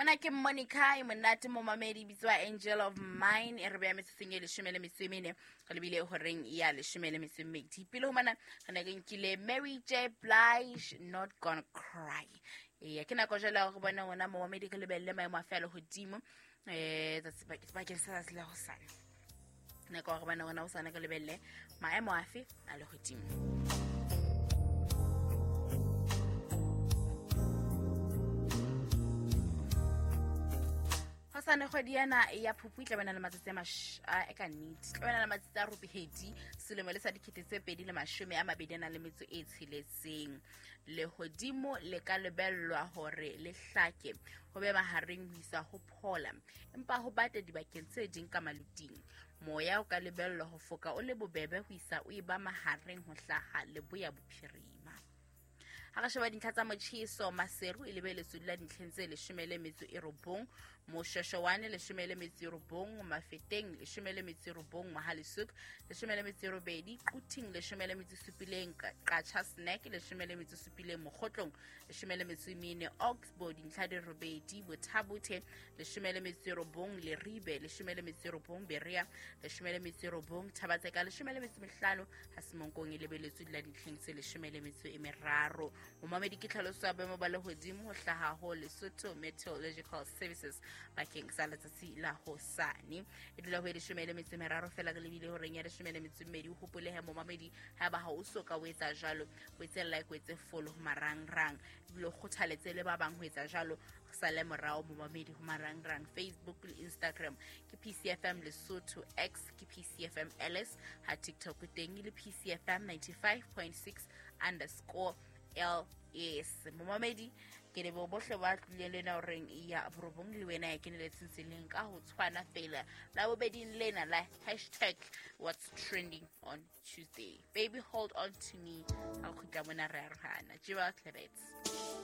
Ona ke Monica e monate momamedi, bitswa Angel of Mine, e re beya metsotsong e 14, re lebile horeng ya 12. Pele ho mana re ne re nkile Mary J Blige, Not Gonna Cry. Eya, ke nako jwale ya hore bone rona momamedi re lebelle maemo a fe a lehodimo bakeng sa tsatsi la hosane. Nako ya hore bone rona hosane re lebelle maemo afe a lehodimo. Hosane kgwedi ena ya Phupu e tla bana le matsatsi a e ka nnete tla bana le matsatsi a robedi selemo le sa 2026. Lehodimo le ka lebellwa hore le hlake ho be mahareng ho isa ho phola, empa ho bate dibakeng tse ding ka maluting. Moya o ka lebellwa ho foka o le bobebe ho isa o eba mahareng ho hlaha leboya bophirima. Ha re sheba dintlha tsa motjheso, Maseru e lebeletswe dula dintlheng tse 19, Moshweshwane 19, Mafeteng 19, Mohale'shoek 18, Quthing 17, Qacha Snack 17, Mokgotlong 14, Oxbow dintlha di 8, Botha-Bothe 19, Leribe 19, Berea 19, Thaba-Tseka 15, ha Semonkong e lebeletswe dula dintlheng tse 13. Momamedi, ke tlhaloso ya boemo ba lehodimo ho hlaha ho Lesotho Meteorological Services bakeng sa letsatsi la hosane. E dula ho e 13 fela re lebile horeng ya 12. O hopolehe momamedi, haeba ha o so ka o etsa jwalo, o etse like, o etse follow ho marangrang, ebile o kgothaletse le ba bang ho etsa jwalo. Re sale morao momamedi ho marangrang, Facebook le Instagram ke PCFM Lesotho, X ke PCFM LS, ha TikTok teng e le PCFM 95.6 underscore LS. Momamedi, ke leboha bohle ba tlileng le ena horeng ya 9 le wena ya keneletseng tseleng ka ho tshwana fela la bobeding lena la hashtag what's trending on Tuesday. Baby hold on to me, ha o kgutla mona re arohana. Jewel Klebets.